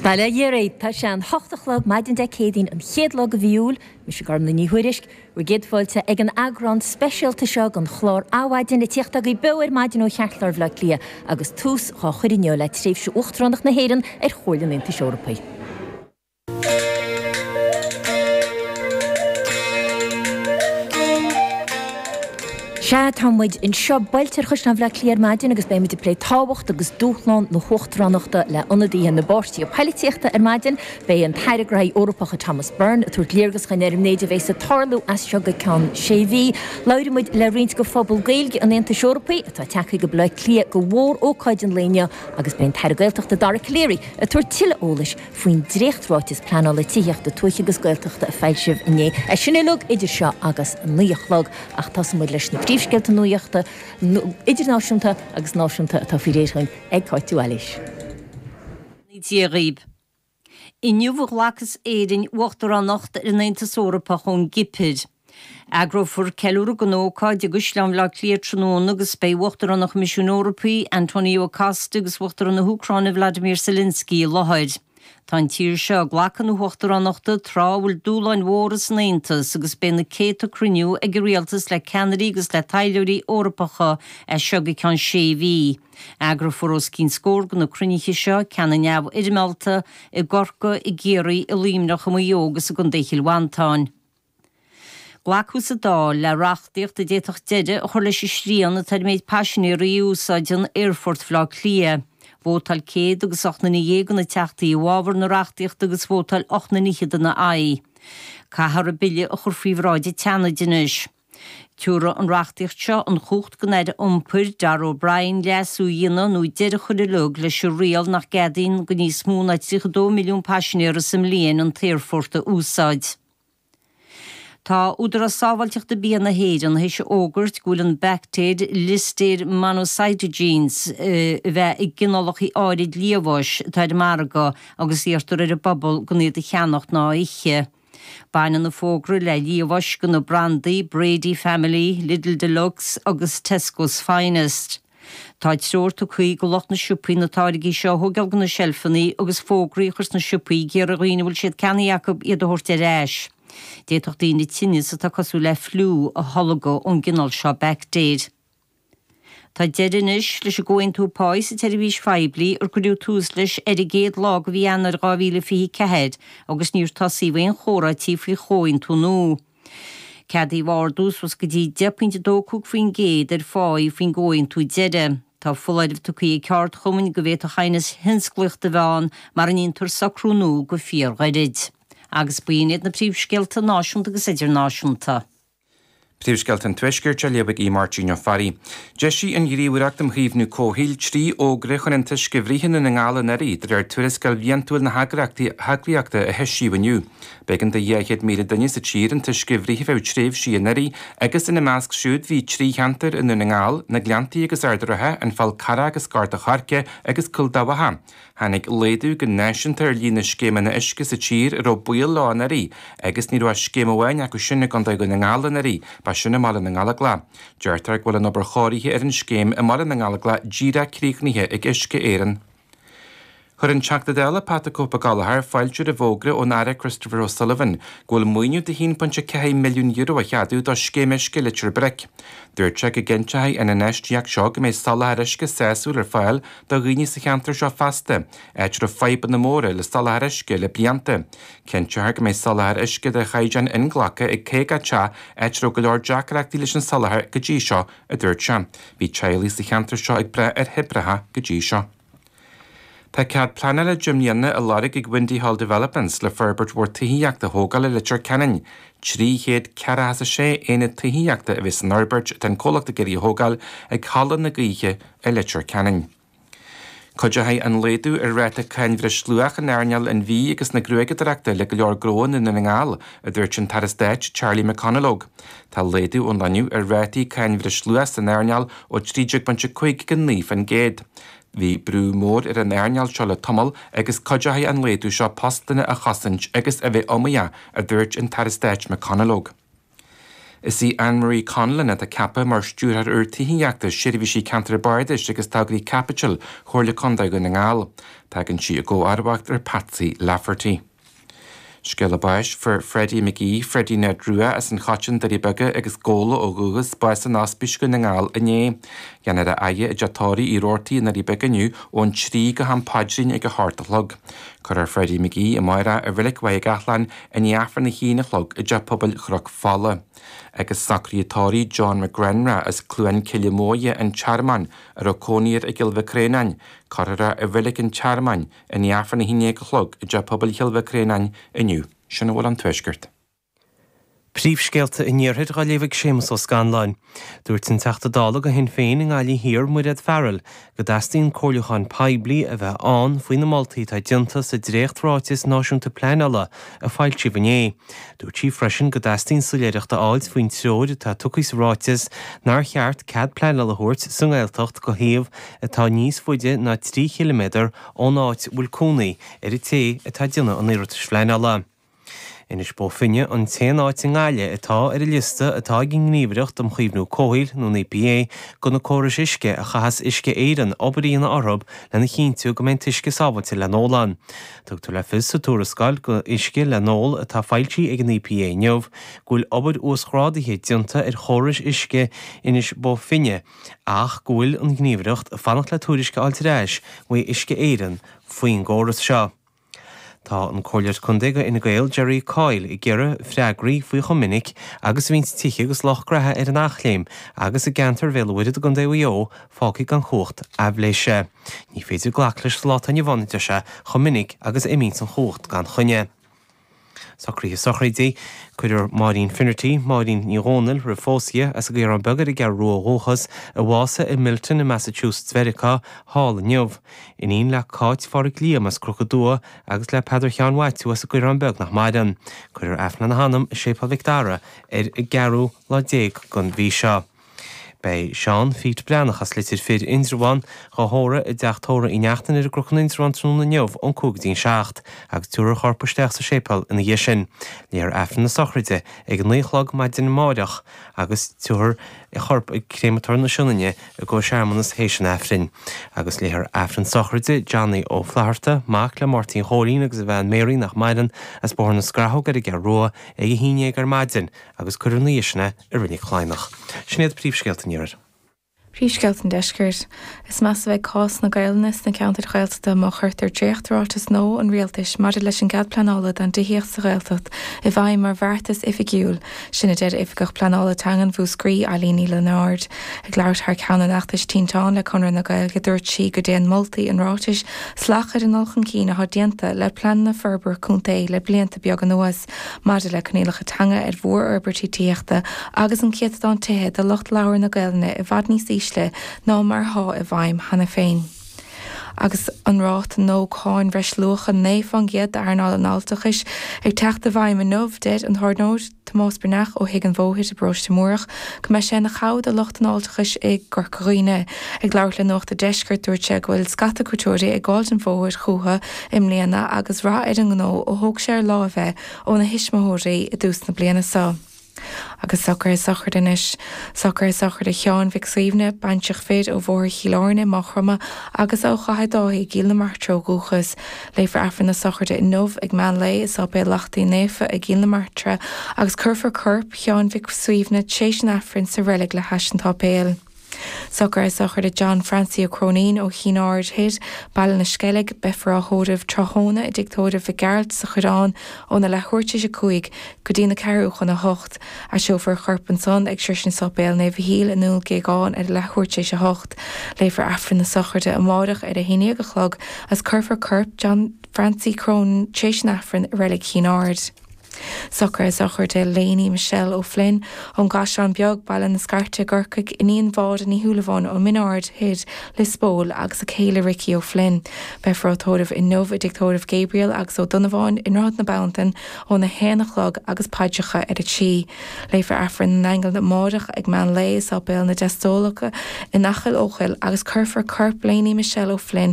Bail ó Dhia oraibh, tá sé an hocht a chlog maidin Dé Céadaoin an chéad lá de mhí Iúil, mise Gormlaith Ní Thuairisg, bhur gcéad fáilte ag an eagrán speisialta seo den chlár Adhmhaidin ag tíocht agaibh beo ar maidin ó cheartlár Bhaile Átha Cliath agus tús dhá chur inniu le tréimhse Uachtaránacht na hÉireann ar Chomhairle an Aontais Eorpaigh. Sea, tá muid anseo bailte ar Chaisleán Bhaile Átha Cliath ar maidin agus beidh muid ag plé tábhacht agus dúshlán na huachtaránachta le ionadaithe na bpáirtithe poilitíochta ar maidin. Beidh an tAire Gnóthaí Eorpacha Thomas Byrne ag tabhairt léargas dhuinn ar an méid a bheas ag tarlú as seo go ceann sé mhí. Labhróidh muid le roinnt de phobal Gaeilge an Aontais Eorpaigh atá tagtha go Baile Átha Cliath do mhór-ócáid an lae inniu agus beidh an tAire Gaeltachta Dara Calleary ag tabhairt tuilleadh eolais faoin dréacht-ráiteas pleanála tithíochta tuaithe agus Gaeltachta a foilsíodh inné. É sin uilig idir seo agus a 9 a chlog ach tosóidh muid leis na príomhscéalta nuachta idirnáisiúnta agus náisiúnta atá faoi réir againn ag Cáit Uí Ailís. Dia dhaoibh. Inniu a ghlacas Éirinn uachtaránacht ar an Aontas Eorpach ón gCipir. Eagrófar ceiliúradh don ócáid i gCaisleán Bhaile Átha Cliath tráthnóna agus beidh Uachtarán an Choimisiúin Eorpaigh, Antonio Costa agus Uachtarán na hÚcráine Vladimir Zelensky i láthair. Tá an tír seo ag glacadh na huachtaránachta tráth a bhfuil dúshláin mhóra san Aontas agus beidh na céadta cruinniú ag an rialtas le ceannairí agus le taidhleoirí Eorpacha as seo go ceann sé mhí. Eagrófar os cionn scór de na cruinnithe seo, ceanna neamhfhoirmeálta, i gCorcaigh, i gCiarraí, i Luimneach, i Maigh Eo agus i gContae Chill Mhantáin. Glacadh sa Dáil le reachtaíocht a d'fhéadfadh deireadh a chur leis an srian atá ar an méid paisinéirí a úsáideann Aerfort Bhaile Átha Cliath. Vótáil 108 nduine de na Teachtaí i bhfabhar na reachtaíochta agus vótáil 8 nduine fhichead ina aghaidh. Caithfear an bille a chur faoi bhráid an tSeanaid anois. Tabharfaidh an reachtaíocht seo an chumhacht don Aire Iompair, Darragh O'Brien, leasú a dhéanamh nó deireadh a chur uilig leis an riail nach gceadaíonn do níos mó ná 32 milliún paisinéara sa mbliain an t-aerfort a úsáid. Tá Údarás Sábháilteachta Bia na hÉireann théis a fhógairt go bhfuil an baictéir Listeria monocytogenes a bheith i gcineálacha áirid liamhais atá ar an margadh agus iarrtar ar an bpobal gan iad a cheannacht ná a ithe. Baineann an fógra le liamhais de na brandaí Brady Family, Lidl Deluxe agus Tesco's Finest. Tá treoir tugtha do lucht na siopaí na táirgí seo a thógáil de na seilfeanna agus fógraí a chur sna siopaí ag iarraidh ar dhaoine a bhfuil siad ceannaithe acu iad a thabhairt ar ais. D'fhéadfadh daoine tinneas atá cosúil le fliú a tholgadh ón gcineál seo baictéir. Tá deireadh anois leis an gcomhaontú páí sa tseirbhís phoiblí ar cuireadh tús leis ar an gcéad lá de mhí Eanáir 2024 agus níor tosaíodh aon chomhráití faoi chomhaontú nua. Ceadaíodh ardú suas go dtí 10.25% ar pháí faoin gcomhaontú deiridh. Tá foláireamh tugtha ag ceardchumainn go bhféadfadh aighneas thionsclaíochta a bheith ann mara ndéantar socrú nua go fíorghairid. Agus b'in iad na príomhscéalta náisiúnta agus idirnáisiúnta. Príomhscéalta an Tuaiscirt á léamh ag Aodh Máirtín Ó Fearraigh. D'eisigh an Ghníomhaireacht um Chaomhnú Comhshaoil 3 fhógra chun an t-uisce a bhruith i nDún na nGall anuraidh, de réir tuarascáil bhliantúil na heagraíochta a heisíodh inniu. B'éigean do 200,000 duine sa tír an t-uisce a bhruith ar feadh tréimhsí anuraidh agus ina measc siúd bhí 3 cheantar i nDún na nGall, na Gleanntaí agus Ard an Rátha, an Fál Carrach agus Gort a' Choirce agus Cúil Dabhcha. Tháinig laghdú go náisiúnta ar líon na scéimeanna uisce sa tír a raibh baol leo anuraidh agus ní raibh ach scéim amháin acu sin i gContae Dhún na nGall anuraidh, ba sin i mBaile na nGallóglach. Deirtear go bhfuil an obair chóirithe ar an scéim i mBaile na nGallóglach díreach críochnaithe ag Uisce Éireann. Chuir an Teachta Dála Pat 'The Cope Gallagher fáilte roimh fhógra ón Aire Christopher O'Sullivan go bhfuil maoiniú de €1.4 milliún á cheadú do Scéim Uisce Leitir Bric. Dúirt sé go gcinnteoidh an infheistíocht seo go mbeidh soláthar uisce sásúil ar fáil do dhaoine sa cheantar seo feasta, áit a raibh fadhbanna móra le soláthar uisce le blianta. Cinnteofar go mbeidh soláthar uisce de chaighdeán inghlactha ag 50 teach, áit a raibh go leor deacrachtaí leis an soláthar go dtí seo, a dúirt sé. Bhí teaghlaigh sa cheantar seo ag brath ar thoibreacha go dtí seo. Tá cead pleanála 10 mbliana á lorg ag Windy Hall Developments le forbairt mhór tithíochta a thógáil i Leitir Ceanainn. 346 aonad tithíochta a bheidh san fhorbairt atá an comhlacht ag iarraidh a thógáil ag Halla na Gaoithe i Leitir Ceanainn. Cuideoidh an laghdú ar ráta cáin bhreisluach in earnáil an bhídh agus na gruaigeadóireachta le go leor gnó i nDún na nGall, a dúirt an tAire Stáit Charlie McConalogue. Tá laghdú ón rinneadh ar rátaí cáin bhreisluach san earnáil ó 13.5 go 9%. Bhí brú mór ar an earnáil seo le tamall agus cuideoidh an laghdú seo postanna a chosaint agus a bheith iomaíoch, a dúirt an tAire Stáit McConalogue. Is í Anne Marie Conlon atá ceaptha mar Stiúrthóir úr Tithíochta, Seirbhísí Ceantair Bardais agus Tograí Caipitil Chomhairle Contae Dhún na nGall. Tagann sí i gcomharbacht ar Patsy Lafferty. Scéala báis, Fuair Freddie McGee, Freddie Ned Rua, as an Choiteann, Doirí Beaga agus Gabhla ó dhúchas, bás in Ospís Dhún na nGall inné. Déanfar a fhaire i dteach tórraimh Uí Robhartaigh i nDoirí Beaga inniu ón 3 go ham paidrín ag 8 a chlog. Cuirfear Freddie McGee amárach i Reilig Mhaigh gCathláin i ndiaidh Aifreann a haon a chlog i dTeach Pobail Chnoc Fola. Agus socruithe tórraimh John McGrenra as Cluain Cille Muaidhe, An Tearmann, a raibh cónaí air i gCill Mhic Réanáin, cuirfear é i Reilig an Tearmainn i ndiaidh Aifreann a haon déag a chlog i dTeach Pobail Chill Mhic Réanáin inniu. Sin a bhfuil ón Tuaisceart. Príomhscéalta an Iarthair á léamh ag Séamus Ó Scanláin. Dúirt an Teachta Dála do Shinn Féin i nGaillimh Thiar, Mairéad Farrell, go dteastaíonn comhairliúchán poiblí a bheith ann faoi na moltaí atá déanta sa dréacht-ráiteas náisiúnta pleanála a foilsíodh inné. Dúirt sí freisin go dteastaíonn soiléireacht a fháilt faoin treoir atá tugtha sa ráiteas nár cheart cead pleanála a thabhairt sa nGaeltacht do shuíomh atá níos faide ná 3 chiliméadar ón áit a bhfuil cónaí ar an té atá ag déanamh an iarratais phleanála. Inis Bó Finne an t-aon áit i nGaillimh atá ar an liosta atá ag an nGníomhaireacht um Chaomhnú Comhshaoil, nó an EPA, do na córais uisce a chaithfeas Uisce Éireann obair a dhéanamh orthu lena chinntiú go mbeidh an t-uisce sábháilte le n-ól ann. Tugtar le fios sa tuarascáil go uisce le n-ól atá foilsithe ag an EPA inniu go bhfuil obair uasghrádaithe déanta ar chórais uisce Inis Bó Finne ach go bhfuil an Ghníomhaireacht ag fanacht le tuairisc a fháilt ar ais uaidh Uisce Éireann faoin gcóras seo. Tá an Comhairleoir Contae do Fhine Gael Jerry Coyle ag iarraidh freagraí faoi chomh minic agus a bhíonns tithe agus lucht graithe ar an Eachléim agus i gceantar Bhéal an Mhuirthead i gContae Mhaigh Eo fágtha gan chumhacht aibhléise. Ní féidir glacadh leis sa lá atá inniu ann, a deir sé, chomh minic agus a imíonns an chumhacht gan choinne. Socruithe sochraide, Cuirfear Máirín Finnerty, Máirín Ní Dhomhnaill roimh phósadh di, as an gCaorán Beag ar an gCeathrú Rua ó dhúchas, a bhásaigh i Milton i Massachusetts Mheiriceá, thall inniu. Iníon le Cáit Phádhraic Liam as Cnoc an Dua agus le Peadar Sheáin Mhaitiú as an gCaorán Beag nach maireann. Cuirfear Aifreann lena hanam i Séipéal Mhic Dara ar an gceathrú lá déag den mhí seo. Beidh Seán Phete Breathnach as Leitir Fir, Indreabhán, dhá thórramh i dteach tórraimh Uí Neachtain ar an gCnoc in Indreabhán tráthnóna inniu ón 5 go dtí an 7 agus tabharfar a chorp isteach sa séipéal ina dhiaidh sin. Léifear Aifreann na sochraide ag 9 a chlog maidin amáireach agus tabharfar a chorp ag Créamatóir na Sionainne i gcomhair searmanas théis an Aifrinn. Agus léifear Aifreann sochraide Johnny Ó Flatharta, mac le Máirtín Chóilín agus a bhean Mary nach maireann, as Bóthar na Scrathóg ar an gCeathrú Rua ag 11 ar maidin agus cuirfear ina dhiaidh sin é i Reilig Chladhnach. Sin iad príomhscéalta an Iarthair. Príomhscéalta an Deiscirt. Is measa a bheidh cás na Gaelainne sna ceantair Ghaeltachta má chuirtear dréacht-ráiteas nua an Rialtais maidir leis an gcead pleanála don dtithíocht sa Ghaeltacht i bhfeidhm mar bheartas oifigiúil. Sin a deir Oifigeach Pleanála Teangan Mhúscraí, Eileen Ní Lionáird. Ag labhairt thar ceann an fheachtais Tinteán le Conradh na Gaeilge dúirt sí go dtéann moltaí an ráitis salach ar an ndul chun cinn atá déanta le pleananna forbartha contae le blianta beaga anuas. maidir le coinníollacha teanga ar mhórfhorbairtí tithíochta agus an céatadán tithe do lucht labhartha na Gaelainne i bhfad níos ísle ná mar atá i bhfeidhm cheana féin. Agus an ráta nua cáin bhreisluacha 9% d'earnáil an fháilteachais ag teacht i bhfeidhm inniu, deir an tábhairneoir Tomás Breathnach ó Thigh an Bhóthair i bParóiste Múrach go mbeidh sé ina chabhair do lucht an fháilteachais i gCorca Dhuibhne. Ag labhairt le Nuacht a' Deiscirt dúirt sé go bhfuil scata cuairteoirí ag gabháil den bhóthar chucu i mbliana agus rath ar an ngnó ó thóg sé ar láimh é óna thuismitheoirí i dtús na bliana seo. Agus socruithe sochraide anois. Socruithe sochraide Sheáin Mhic Suibhne, baintreach fir ó Bhóthar Chill Airne, Maigh Chromtha agus ó Chathair Dháithí i gCill na Martra ó dhúchas. Léifear Aifreann na sochraide inniu ag meán lae i Sáipéal Lachtaí Naofa i gCill na Martra agus cuirfear corp Sheáin Mhic Suibhne tréis an Aifrinn sa reilig le hais an tsáipéil. Socruithe sochraide John Francie Ó Cróinín ó Chinn Aird Thoir, Baile na Sceilg, Beifear á thórramh tráthnóna i dTigh Tórraimh Mhic Gearailt sa Choireán óna leathuair tar éis a 5 go dtí na ceathrú chun a 8. Aistreofar a chorp ansan ag sroisint Sáipéal Naomh Mhichíl i nDún Géagáin ar a leathuair tar éis a 8. Léifear Aifreann na sochraide amáireach ar a 11 a chlog agus cuirfear corp John Francie Cronin tréis an Aifrinn i Reilig Chinn Aird. Socruithe sochraide Léiní Michelle O'Flynn ón gCaisleán Beag, Baile na Scairte i gCorcaigh, iníon Mháire Ní Shúilleabháin ó Min Ard Thoir, Lios Póil, agus a céile Ricky O'Flynn. Beifear á tórramh inniu i dTigh Tórraimh Gabriel agus Ó Donnabháin i nDroichead na Bantan óna haon a chlog agus paidreacha ar a trí. Léifear Aifreann na nAingeal amáireach ag meán lae i Sáipéal na dTeastólacha in Acaill Eochaill agus cuirfear corp Léiní Michelle O'Flynn.